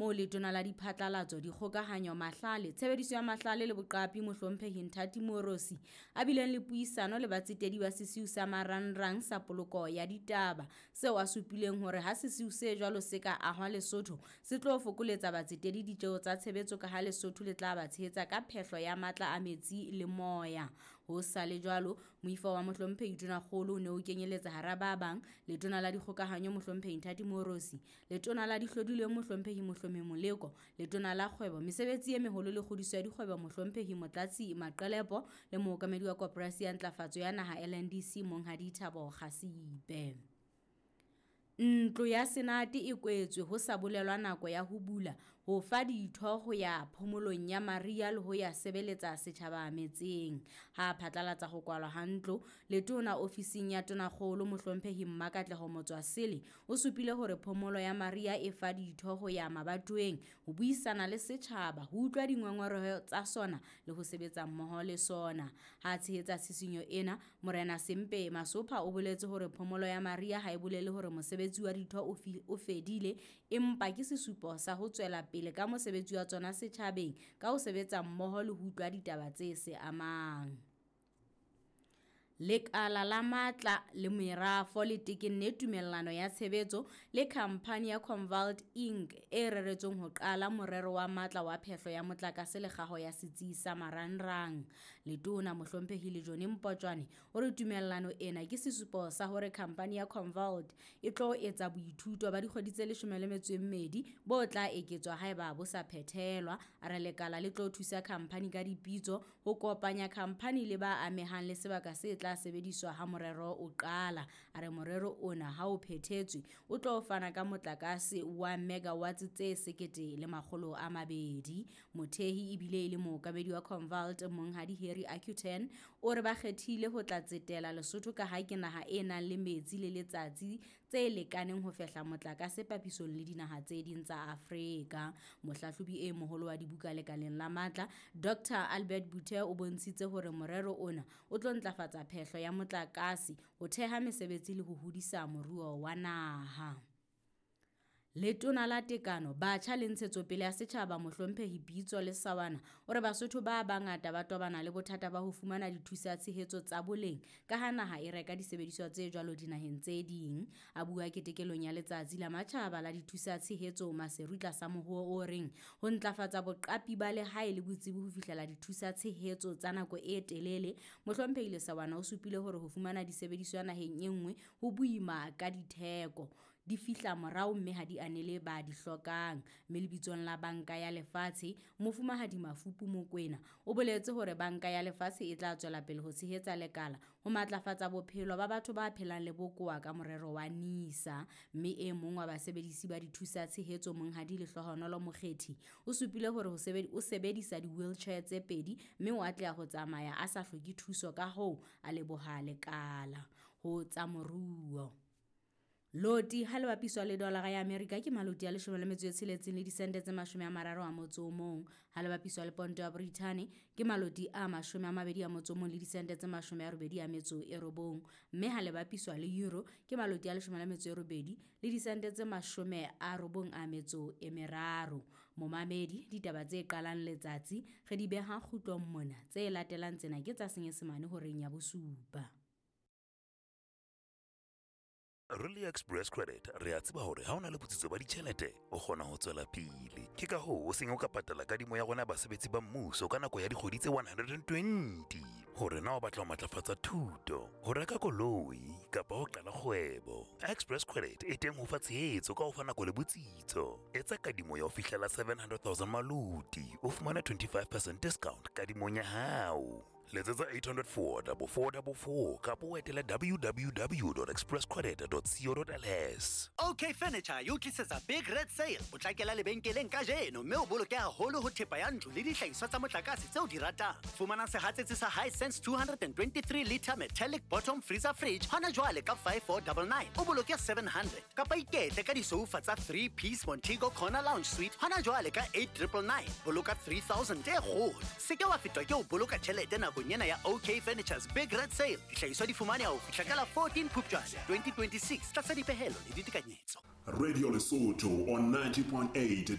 moo Letona la Diphatlalatso, Dikgokahanyo, Mahlale, Tshebediso ya Mahlale le Boqapi Mohlomphehi Nthati Moorosi a bileng le puisano le batsetedi ba sesiu sa marangrang sa poloko ya ditaba, seo a supileng hore ha sesiu se jwalo se ka ahwa Lesotho se tlo fokoletsa batsetedi ditjeo tsa tshebetso ka ha Lesotho le tla ba tshehetsa ka phehlo ya matla a metsi le moya. Ho sa le jwalo, moifo wa Mohlomphehi Tonakgolo o ne o kenyeletsa hara ba bang Letona la Dikgokahanyo Mohlomphehi Nthati Moorosi, Letona la Dihlodilweng Mohlomphehi Mohlomi Moleko, Letona la Kgwebo, Mesebetsi e Meholo le Kgodiso ya Dikgwebo Mohlomphehi Motlatsi Maqelepo le Mookamedi wa Koporasi ya Ntlafatso ya Naha LNDC Monghadi Thabo Kgasipe. Ntlo ya Senate e kwetswe ho sa bolelwa nako ya ho bula, ho fa ditho ho ya phomolong ya mariha le ho ya sebeletsa setjhaba metseng. Ha a phatlalatsa ho kwalwa ha ntlo, Letona ofising ya Tonakgolo Mohlomphehi Mmakatleho Motswasele o supile hore phomolo ya mariha e fa ditho ho ya mabatoweng, ho buisana le setjhaba, ho utlwa dingongoreho tsa sona le ho sebetsa mmoho le sona. Ha a tshehetsa tshisinyo ena, Morena Sempe Masopha o boletse hore phomolo ya mariha ha e bolele hore mosebetsi wa ditho o fedile, empa ke sesupo sa ho tswela pele ka mosebetsi wa tsona setjhabeng ka ho sebetsa mmoho le ho utlwa ditaba tse se amang. Lekala la Matla le Merafo le tekenne tumellano ya tshebetso le khamphani ya Convalt Inc. e reretsweng ho qala morero wa matla wa phehlo ya motlakase le kgaho ya setsi sa marangrang. Letona Mohlomphehi Lejone Mpotjwane o re tumellano ena ke sesupo sa hore khamphani ya Convalt e tlo etsa boithuto ba dikgwedi tse 12 bo tla eketswa haeba bo sa phethelwa. A re lekala le tlo thusa khamphani ka dipitso ho kopanya khamphani le ba amehang le sebaka se tla sebediswa ha morero o qala. A re morero ona ha o phethetswe o tlo fana ka motlakase wa megawatts tse 1200. Mothehi ebile e le mookamedi wa Convalt Monghadi Harry Akuten o re ba kgethile ho tla tsetela Lesotho ka ha ke naha e nang le metsi le letsatsi tse lekaneng ho fehla motlakase papisong le dinaha tse ding tsa Afrika. Mohlahlobi e moholo wa dibuka lekaleng la matla Dr Albert Buthe o bontshitse hore morero ona o tlo ntlafatsa phehlo ya motlakase, ho theha mesebetsi le ho hodisa moruo wa naha. Letona la Tekano, Batjha le Ntshetsopele ya Setjhaba Mohlomphehi Pitso Lesawana o re Basotho ba bangata ba tobana le bothata ba ho fumana dithusa tshehetso tsa boleng ka ha naha e reka disebediswa tse jwalo dinaheng tse ding. A bua ketekelong ya letsatsi la matjhaba la dithusa tshehetso Maseru tlasa mohoo o reng ho ntlafatsa boqapi ba lehae le botsebi ho fihlela dithusa tshehetso tsa nako e telele. Mohlomphehi Lesawana o supile hore ho fumana disebediswa naheng e nngwe ho boima ka ditheko, di fihla morao mme ha di anele ba di hlokang. Mme lebitsong la Banka ya Lefatshe, Mofumahadi Mafupu Mokwena o boletse hore Banka ya Lefatshe e tla tswela pele ho tshehetsa lekala ho matlafatsa bophelo ba batho ba phelang le bokowa ka morero wa NISA. Mme e mong wa basebedisi ba dithusa tshehetso Monghadi Lehlohonolo Mokgethi o supile hore o sebedisa di-wheelchair tse pedi mme o atleha ho tsamaya a sa hloke thuso, ka hoo a leboha lekala. Ho tsa moruo, loti ha le bapiswa le dolara ya Amerika ke maloti a 16 le disente tse 31, ha le bapiswa le ponto ya Brithani ke maloti a 21 le disente tse 89, mme ha le bapiswa le euro ke maloti a 18 le disente tse 93. Momamedi, ditaba tse qalang letsatsi re di beha kgutlong mona, tse latelang tsena ke tsa Senyesemane horeng ya 7. Really Express Credit re a tseba hore ha o na le botsitso ba ditjhelete o kgona ho tswela pele. Ke ka hoo o seng o ka patala kadimo ya rona basebetsi ba mmuso ka nako ya dikgwedi tse 120. Hore na o batla ho matlafatsa thuto, ho reka koloi kapa ho qala kgwebo, Express Credit e teng ho fa tshehetso ka ho fa nako le botsitso. Etsa kadimo ya ho fihlela 700,000 maloti, o fumane 25% discount kadimong ya hao. Letsetsa 804 4444 kapa o etele www.expresscredit.co.ls. OK Furniture e o tlisetsa Big Red Sale. Potlakela lebenkeleng kajeno mme o boloke haholo ho thepa ya ntlo le dihlahiswa tsa motlakase tseo di ratang. Fumana sehatsetsi sa Hisense 223 liter metallic bottom freezer fridge hona jwale ka 5499, o boloke 700. Kapa iketle ka disoufa tsa 3-piece Montego Corner Lounge Suite hona jwale ka 8999, boloka 3000 e kgolo. Se ke wa fetwa ke ho boloka tjhelete nakong ena ya OK Furniture's Big Red Sale. Dihlahiswa di fumaneha ho fihla ka la 14 Phupjane 2026 tlasa dipehelo le ditekanyetso. Radio Lesotho on 90.8 to